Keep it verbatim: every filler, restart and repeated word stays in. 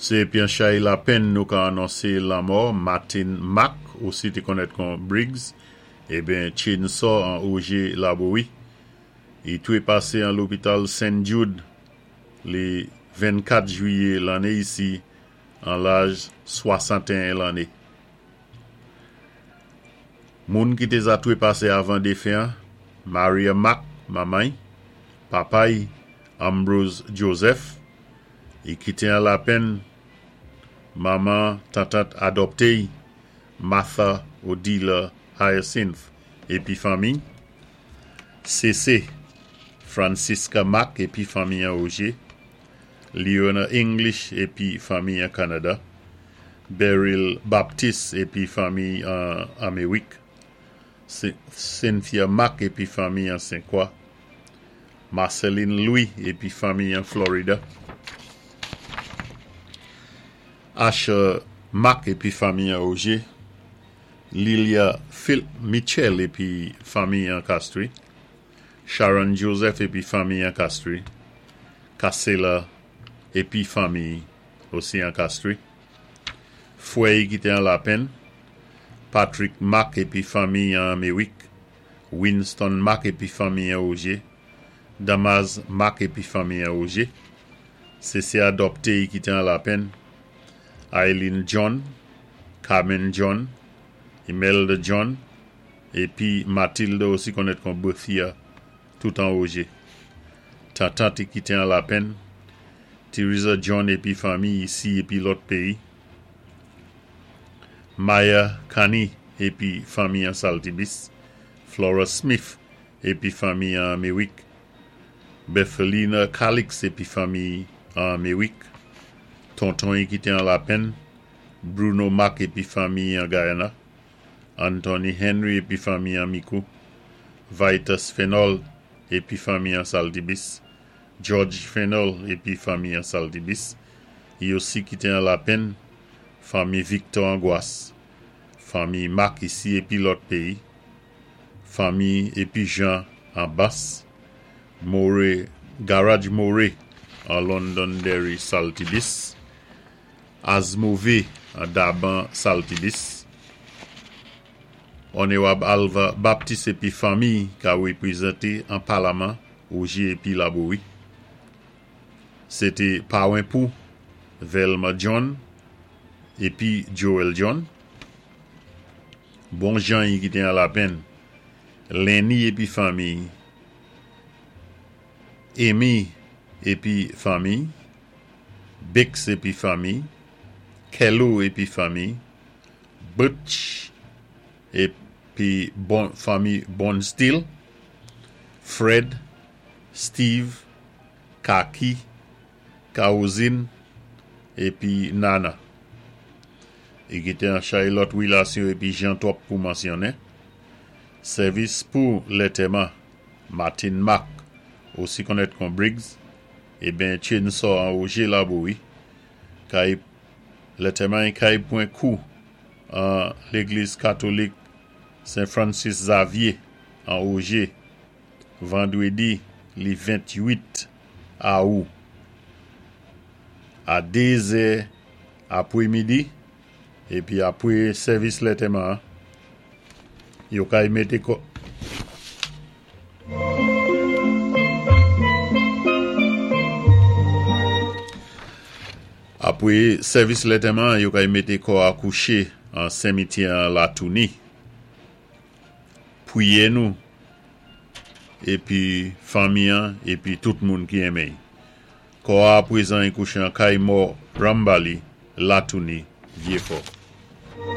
Sé épi an chay lapenn nou ka anonsé lanmò Martin Mack, osi té konnèt kon Briggs, eben Chainsaw an Augier Laborie. I twé pasé an lopital Saint Jude lé vennkat jwiyé lanné isi an laj swasanten lanné. Moun ki té za twé pasé avan défen an, Maria Mack, manman-y, papa-y, Ambrose Joseph, i kité an lapenn manman tantant adopté-y, Martha Odila Hyacinth épi fanmi, C C Francisca Mack épi fanmi an Augier, Leona English épi fanmi an Kanada, Beryl Baptiste épi fanmi an Améwik, Cynthia Mack épi fanmi an Saint-Croix, Marceline Louis épi fanmi an Florida, Asher Mack épi fanmi an Augier, Lilia Phil Mitchell épi fanmi an Castries, Sharon Joseph épi fanmi an Castries, Kassela épi fanmi osi an Castries, Fwè ki té an lapenn, Patrick Mack épi fanmi an Améwik, Winston Mack épi fanmi an Augier, Damas Mack épi fanmi an Augier, sé sè adopté ki té an lapenn, Eileen John, Carmen John, Imelda John, épi Mathilde osi konnèt kon Berthia, tout an Augier. Tantant ki té an lapenn, Teresa John épi fanmi isi épi lòt péyi, Maya Kani épi fanmi an Saltibus, Flora Smith épi fanmi an Améwik, Bethelina Calix épi fanmi an Améwik, tonton ki té an lapenn, Bruno Mack épi fanmi an Guyana, Anthony Henry épi fanmi an Micoud, Vitus Fenol épi fanmi an Saltibus, George Fenol épi fanmi an Saltibus, i osi ki té an lapenn, fanmi Victor Angoisse, fanmi Mack isi épi lòt péyi, fanmi épi Jean an Bas, More, Garage More an Londonderry Saltibus, Azmove an Daban Saltibus, Onorab Alva Baptiste épi fanmi ka wépwézanté an palaman Augier épi Laborie. Sé té pawen pou Velma John épi Joel John. Bon jan ki té an lapenn, Lenny épi fanmi, Amy épi fanmi, Bix épi fanmi, Kello épi fanmi, Butch épi bon, fanmi Bonsteel, Fred, Steve, Kaki, Kaozin épi Nana. I kité an chay lòt wilasyon épi jan twòp pou mansyonnen. Sèvis pou lantèman Martin Mack, osi konnèt kon Briggs, eben Chainsaw an Augier Laborie, kay lantèman kay pwan kou an légliz katolik Saint Francis Xavier an Augier, vandwédi li venntwit awou a dé zè apwé midi, épi apwé sèvis lantèman yo kay mété kò apwé sèvis lantèman yo kay mété kò a kouché an simityè Latouni. Pwiyé nou épi fanmi an épi tout moun ki enmen. Kò a pwézan kouché an kay mò Rambali Latouni Vieux-Fort.